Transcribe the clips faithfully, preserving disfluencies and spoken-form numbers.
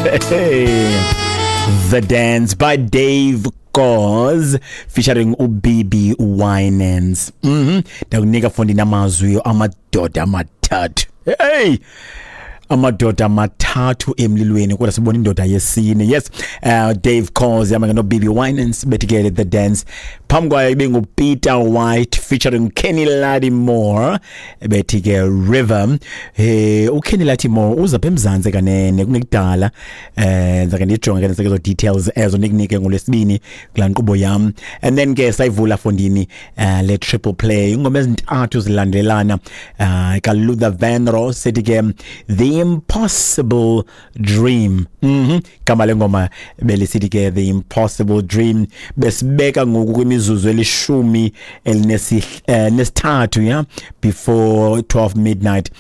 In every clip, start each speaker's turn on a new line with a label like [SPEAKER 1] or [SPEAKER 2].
[SPEAKER 1] The Dance by Dave Koz featuring uBB Winans. Mhm. Ndakunika fondini amazwi amadoda amathathu. Hey! Amadoda amathathu emlilweni, kodwa sibona indoda yesine. Yes, uh, Dave Koz yama no B B Winans, bethi ke The Dance. Phambi kwayo ibe ngu Peter White featuring Kenny Lattimore, bethi ke River. Eh uKenny Lattimore uza pha eMzantsi kanene kungekudala. Eh ndizake ndijonge ke nezo details ezo, nikunike ngolwesibini kulaa nkqubo yam. And then ke sayivula fondini uh, le triple play, ingoma ezintathu zilandelana, uh, ka Luther Vandross, sethi ke The Impossible Dream. mhm gama lengoma belisithi ke The Impossible Dream. Besibeka ngoku kwimizuzu elishumi elinesithathu, yeah, before twelve midnight,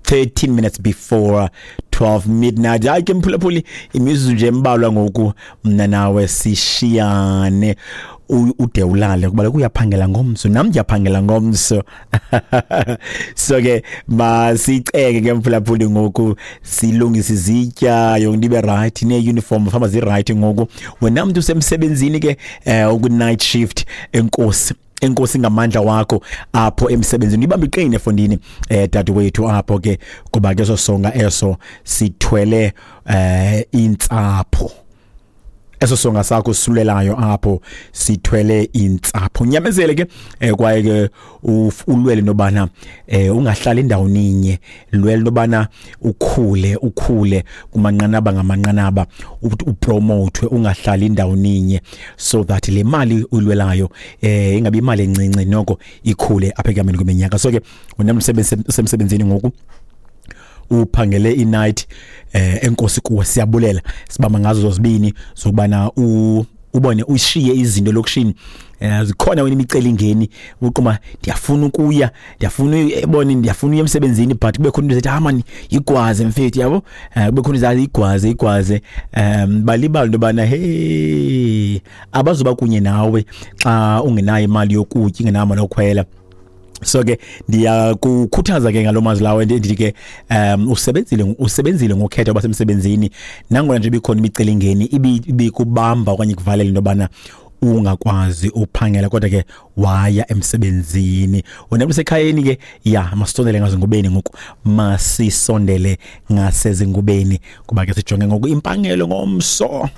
[SPEAKER 1] thirteen minutes before twelve midnight. Hayi ke mphulaphuli, imizuzu nje embalwa ngoku mna nawe sishiyane, ude ulale kuba uyaphangela ngomso, nam ndiyaphangela ngomso. So ke masiceke ke mphulaphuli ngoku, silungise izitya, yonke into ibe right, nee-uniform famba zi-right ngoku. Wena mntu usemsebenzini ke, eh uku-night shift, enkosi, enkosi ngamandla wakho apho emsebenzini. Ibambe iqine efondini, eh dadewethu, apho ke, kuba ke sosonga eso sithwele eh intsapho. Eso songa sakho sulelayo apho sithwele intsapho. Nyamezele ke, eh kwaye ke ulwele nobana eh ungahlali endaweni inye, lwele nobana ukhule, ukhule kumanqanaba ngamanqanaba, upromote, ungahlali endaweni inye, so that le mali ulwelayo eh ingabi imali encinci, noko ikhule apha ekuhambeni kweminyaka. So ke wena umsebenzi usemsebenzini ngoku, uphangele i-night, eh enkosi kuwe, siyabulela, sibamba ngazo zozibini zokubana u ubone ushiye izinto lokishini. Eh zikhona wena imicelingeni, uqoma ndiyafuna ukuya, ndiyafuna ebone, ndiyafuna uya emsebenzini, but kube khona into ethi, ah man, igwaze mfethu, yabo, eh kube khona izazi igwaze igwaze um balibala into bana hey, abazoba kunye nawe xa ungenayo imali yokutya, ingenayo imali yokukhwela. So ke ndiyakukhuthaza ke ngalo mazwi lawo, ndithi ke um usebenzile, usebenzile ngokhetha basemsebenzini, nangona nje ibikhona imicelingeni ibikubamba okanye kuvalela into yobana ungakwazi uphangela, kodwa ke waya emsebenzini. Wena usekhayeni ke, ya, masisondele ngazingubeni ngoku, masisondele ngasezingubeni, kuba ke sijonge ngoku impangelo ngomso.